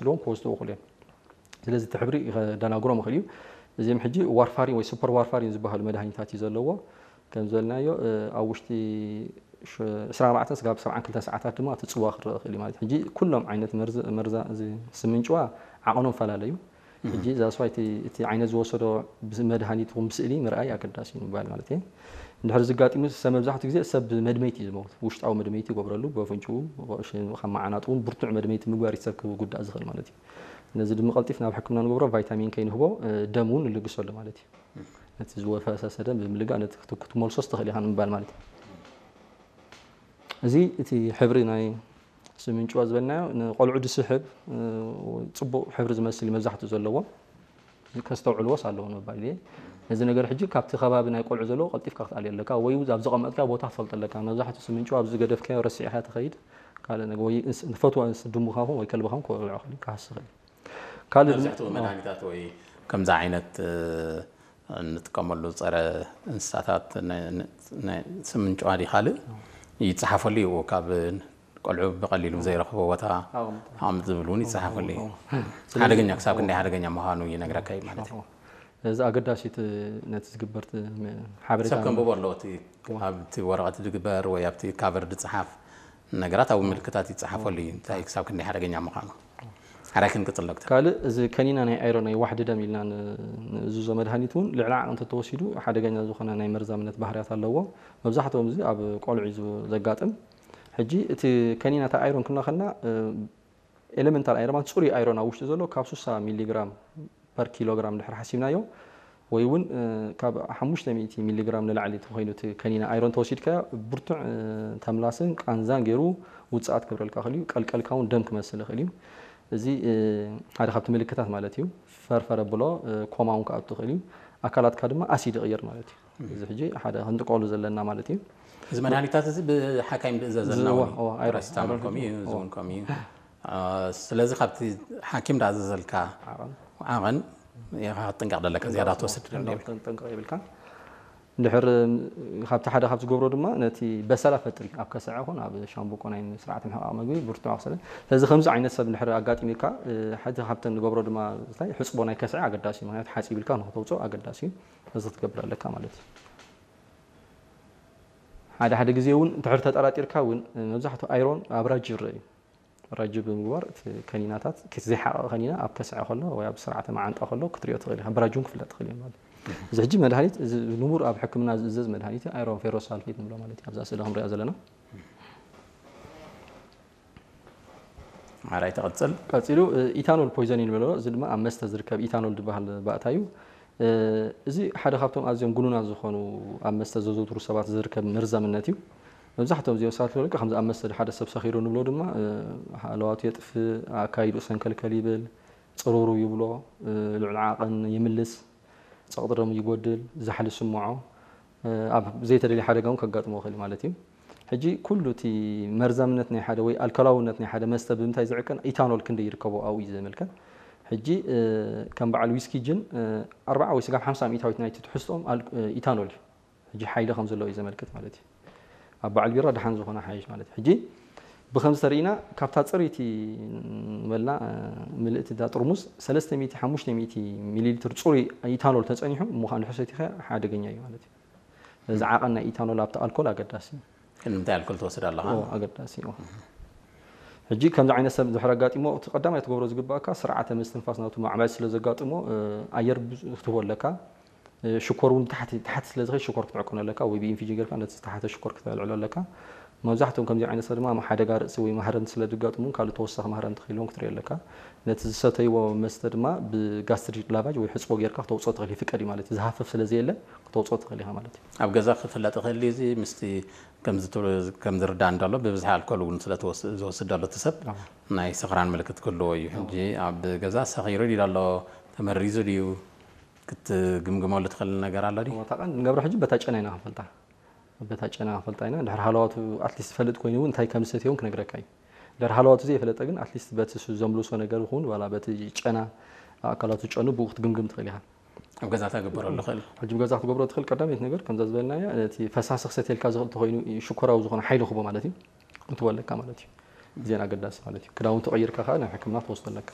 ኢልዎም ክወስድዎ ይኽእሉ እዮም። ስለዚ እቲ ሕብሪ ከደናግሮም ይኽእል እዩ። እዚኦም ሕጂ ዋርፋሪን ወይ ሱፐር ዋርፋሪን ዝበሃሉ መድሃኒታት እዩ ዘለዎ። ከም ዝበልናዮ ኣብ ውሽጢ ዕስራን ኣርባዕተን ስጋብ ሰብዓን ክልተን ሰዓታት ድማ እቲ ፅዋ ክረአ ይኽእል እዩ ማለት እዩ። ሕጂ ኩሎም ዓይነት መርዛ እዚ ስምንጭዋ ዓቐኖም ፈላለዩ። ሕጂ ዛስዋይ እቲ ዓይነት ዝወሰዶ መድሃኒት ይኹን ብስእሊ ምርኣይ ኣገዳሲ እዩ ምባል ማለት እየ። እንድሕር ዝጋጢሙ ሰብ መብዛሕትኡ ግዜ ሰብ ብመድመይቲ እዩ ዝመውት። ውሽጣዊ መድመይቲ ይገብረሉ፣ ብኣፍንጭኡ፣ ካብ መዓናጡ እውን ብርቱዕ መድመይቲ ምግባር እዩ ሰብ ክጉዳእ ዝኽእል ማለት እዩ። ነዚ ድማ ቀልጢፍ ናብ ሕክምና ንገብሮ፣ ቫይታሚን ከይንህቦ ደም እውን ንልግሰሉ ማለት እዩ። ነቲ ዝወፈሰሰ ደም ብምልጋእ ነቲ ክትመልሶ ትኽእል ኢኻ ንምባል ማለት እዩ። እዚ እቲ ሕብሪ ናይ ስምንጭዋ ዝበልናዮ ንቆልዑ ዝስሕብ ፅቡቕ ሕብሪ ዝመስል እዩ መብዛሕትኡ ዘለዎ። ከስተውዕልዎስ ኣለዎ ንምባል እየ። ነዚ ነገር ሕጂ ካብቲ ከባቢ ናይ ቆልዑ ዘለዎ ቀልጢፍካ ክትኣልዮ ኣለካ፣ ወይ ኣብ ዝቐመጥካ ቦታ ክትፈልጦ ኣለካ። መብዛሕትኡ ስምንጭዋ ኣብ ዝገደፍካዮ ረሲዕካ ትኸይድ። ካልእ ነገር ወይ ንፈትዋ ድሙኻ ኹን ወይ ከልብኻ ኹን ክበልዖ ክእል ክሃስ ይኽእል። ካልእ ድማ- መብዛሕትኡ መድሃኒታት ወይ ከምዚ ዓይነት እንጥቀመሉ ፀረ እንስሳታት ስምንጭዋ ዲ ካልእ ይፀሓፈሉ እዩ። ካብ ቆልዑ ብቐሊሉ ዘይረኽቦ ቦታ ኣቕምጥ ዝብል እውን ይፀሓፈሉ እዩ። ሓደገኛ ክሳብ ክንደይ ሓደገኛ ምዃኑ ይነግረካ እዩ ማለት እዩ። እዚ ኣገዳሲ ነቲ ዝግበር ሓበሬታ ሰብ ከንብቦ ኣለዎ። ኣብቲ ወረቐት ዝግበር ወይ ኣብቲ ካቨር ዝፀሓፍ ነገራት ኣብ ምልክታት ይፀሓፈሉ እዩ። እንታይ ክሳብ ክንደይ ሓደገኛ ምዃኑ ሓራይ ክንቅፅል ዶክተር። ካልእ እዚ ከኒና ናይ ኣይሮ ናይ ዋሕዲ ደም ኢልና ንእዝዞ መድሃኒት እውን ልዕሊ ዓቕን እንተተወሲዱ ሓደገኛ ዝኾነ ናይ መርዛምነት ባህርያት ኣለዎ። መብዛሕትኦም እዚ ኣብ ቆልዑ እዩ ዘጋጥም። ሕጂ እቲ ከኒና እታ ኣይሮን ክንብላ ከለና ኤሌመንታል ኣይሮን ማለት ፅሩይ ኣይሮን ኣብ ውሽጢ ዘሎ ካብ ስሳ ሚሊግራም ፐር ኪሎግራም ድሕር ሓሲብናዮ ወይ እውን ካብ ሓሙሽተ ሚእቲ ሚሊግራም ንላዕሊ ተኮይኑ እቲ ከኒና ኣይሮን ተወሲድካዮ ብርቱዕ ተምላስን ቃንዛን ገይሩ ውፅኣት ክብረልካ ይኽእል እዩ። ቀልቀልካ እውን ደም ክመስል ይኽእል እዩ። እዚ ሓደ ካብቲ ምልክታት ማለት እዩ። ፈርፈረ ብሎ ኮማ እውን ክኣቱ ይኽእል እዩ። ኣካላትካ ድማ ኣሲድ ይቕይር ማለት እዩ። እዚ ሕጂ ሓደ ክንጥቀሉ ዘለና ማለት እዩ። እዚ መድሃኒታት እዚ ብሓካይም ዝእዘዘልና እውን እዩ። ፓራሲታሞል ከምኡ እዩ፣ እዚ እውን ከምኡ እዩ። ስለዚ ካብቲ ሓኪም ዳኣዘዘልካ ዓቐን ኢኻ ክትጥንቀቕ ዘለካ፣ ዝያዳ ትወስድ ክትጥንቀቕ የብልካ። እንድሕር ካብቲ ሓደ ካብ ዝገብሮ ድማ ነቲ በሰላ ፈጥሪ ኣብ ከስዐ ኹን ኣብ ሻምብቆ ናይ ስርዓተ ምሕቃቕ ምግቢ ብርቱዕ ኣክሰለ። ስለዚ ከምዚ ዓይነት ሰብ እንድሕር ኣጋጢሙካ፣ ሓንቲ ካብተን ንገብሮ ድማ እንታይ ሕጽቦ ናይ ከስዐ ኣገዳሲ እዩ። ምክንያቱ ሓጺብ ኢልካ ንክተውፅኦ ኣገዳሲ እዩ። እዚ ክትገብር ኣለካ ማለት እዩ። ሓደ ሓደ ግዜ እውን እንድሕር ተጠራጢርካ እውን መብዛሕትኡ ኣይሮን ኣብ ራጂ ይረአ እዩ። ራጂ ብምግባር እቲ ከኒናታት እቲ ዘይሓቐቐ ከኒና ኣብ ከስዐ ከሎ ወይ ኣብ ስርዓተ መዓንጣ ከሎ ክትሪኦ ትኽእል ኢኻ። ብራጂ እውን ክፍለጥ ትኽእል እዩ ማለት እዩ። እዚ ሕጂ መድሃኒት እዚ ንቡር ኣብ ሕክምና ዝእዘዝ መድሃኒት ኣይሮን ፌሮሳልፌት ንብሎ ማለት እዩ። ኣብዛ ስእሊ ክንሪኣ ዘለና ሓራይ ትቐፅል። ቀፂሉ ኢታኖል ፖይዘኒን ንብሎ፣ እዚ ድማ ኣብ መስተ ዝርከብ ኢታኖል ዝበሃል ባእታ እዩ። እዚ ሓደ ካብቶም ኣዝዮም ግኑናት ዝኾኑ ኣብ መስተ ዘዘውትሩ ሰባት ዝርከብ መርዛምነት እዩ። መብዛሕትኦም እዚኦም ሰባት ዝብለካ ከምዚ ኣብ መስተ ሓደ ሰብ ሰኺሩ ንብሎ ድማ ሃለዋቱ የጥፍእ፣ ኣካይድኡ ሰንከልከል ይብል፣ ፅሩሩ ይብሎ፣ ልዑል ዓቐን ይምልስ፣ ፀቕጢ ደም ይጎድል፣ ዛሕሊ ይስምዖ፣ ኣብ ዘይተደልየ ሓደጋ እውን ከጋጥሞ ይኽእል ማለት እዩ። ሕጂ ኩሉ እቲ መርዛምነት ናይ ሓደ ወይ ኣልኮላውነት ናይ ሓደ መስተ ብምንታይ ዝዕቀን ኢታኖል ክንደይ ይርከቦ ኣብኡ እዩ ዘመልከት። ሕጂ ከም በዓል ዊስኪ ጅን ኣርብዓ ወይ ስጋብ ሓምሳ ሚእታዊት ናይቲ ትሕዝትኦም ኢታኖል እዩ። ሕጂ ሓይሊ ከም ዘለዎ እዩ ዘመልክት ማለት እዩ። ኣብ በዓል ቢራ ደሓን ዝኾነ ሓይሽ ማለት እዩ። ሕጂ ብኸምዚ ተሪእና ካብታ ፅርይቲ ንበልና ምልእቲ እዛ ጥርሙዝ ሰለስተ ሚእቲ ሓሙሽተ ሚእቲ ሚሊ ሊትር ፅሩይ ኢታኖል ተፀኒሑ እሞ ከዓ ንድሕር ሰቲኻ ሓደገኛ እዩ ማለት እዩ። እዚ ዓቐን ናይ ኢታኖል ኣብቲ ኣልኮል ኣገዳሲ እዩ። ንምንታይ ኣልኮል ትወስድ ኣለኻ? ኣገዳሲ እዩ። ሕጂ ከምዚ ዓይነት ሰብ ድሕር ኣጋጢሞ እቲ ቀዳማይ ትገብሮ ዝግባእካ ስርዓተ ምስትንፋስ ናቱ ማዕባል ስለ ዘጋጥሞ ኣየር ክትህቦ ኣለካ። ሽኮር እውን ታሕቲ ታሕቲ ስለ ዝኸይድ ሽኮር ክትዕቅኖ ኣለካ ወይ ብኢንፊጅን ጌርካ ነቲ ዝተሓተ ሽኮር ክተልዕሎ ኣለካ። መብዛሕትኦም ከምዚ ዓይነት ሰብ ድማ ሓደጋ ርእሲ ወይ ማህረምቲ ስለ ዝጋጥሙ ካልእ ተወሳኺ ማህረምቲ ክህልዎም ክትርኢ ኣለካ። ነቲ ዝሰተይዎ መስተ ድማ ብጋስትሪክ ላቫጅ ወይ ሕፅቦ ጌርካ ክተውፅኦ ትኽእል ይፍቀድ እዩ ማለት እዩ። ዝሃፍፍ ስለ ዘየለ ክተውፅኦ ትኽእል ኢኻ ማለት እዩ። ኣብ ገዛ ክፍለጥ ይኽእል ድዩ እዚ ምስቲ ከም ዝርዳእ እንዳሎ ብብዝሒ ኣልኮል እውን ስለ ዝወስድ ኣሎ እቲ ሰብ ናይ ስኽራን ምልክት ክህልዎ እዩ። ሕጂ ኣብ ገዛ ሰኺሩ ድዩ ኣሎ ተመሪዙ ድዩ ክትግምግመሉ ትኽእል ነገር ኣሎ ድዩ? እታ ቀን ንገብሮ ሕጂ በታ ጨና ኢና ክንፈልጣ በታ ጨና ክንፈልጣ ኢና። ድሕሪ ሃለዋቱ ኣትሊስት ዝፈልጥ ኮይኑ እውን እንታይ ከም ዝሰትዮ እውን ክነግረካ እዩ። ድሕሪ ሃለዋቱ ዘይፈለጠ ግን ኣትሊስት በቲ እሱ ዘምልሶ ነገር ይኹን ዋላ በቲ ጨና ኣካላቱ ጨኑ ብኡ ክትግምግም ትኽእል ኢኻ። ኣብ ገዛ ተግበረሉ ይኽእል። ሕጂ ብገዛ ክትገብሮ ትኽእል ቀዳመይቲ ነገር ከምዛ ዝበልናያ ነቲ ፈሳሲ ክሰትየልካ ዝኽእል ተኾይኑ ሽኮራዊ ዝኾነ ሓይሊ ክቦ ማለት እዩ ክትበለካ ማለት እዩ። ግዜን ኣገዳሲ ማለት እዩ። ክዳውንቲ ቀይርካ ከዓ ናብ ሕክምና ትወስዶ ኣለካ።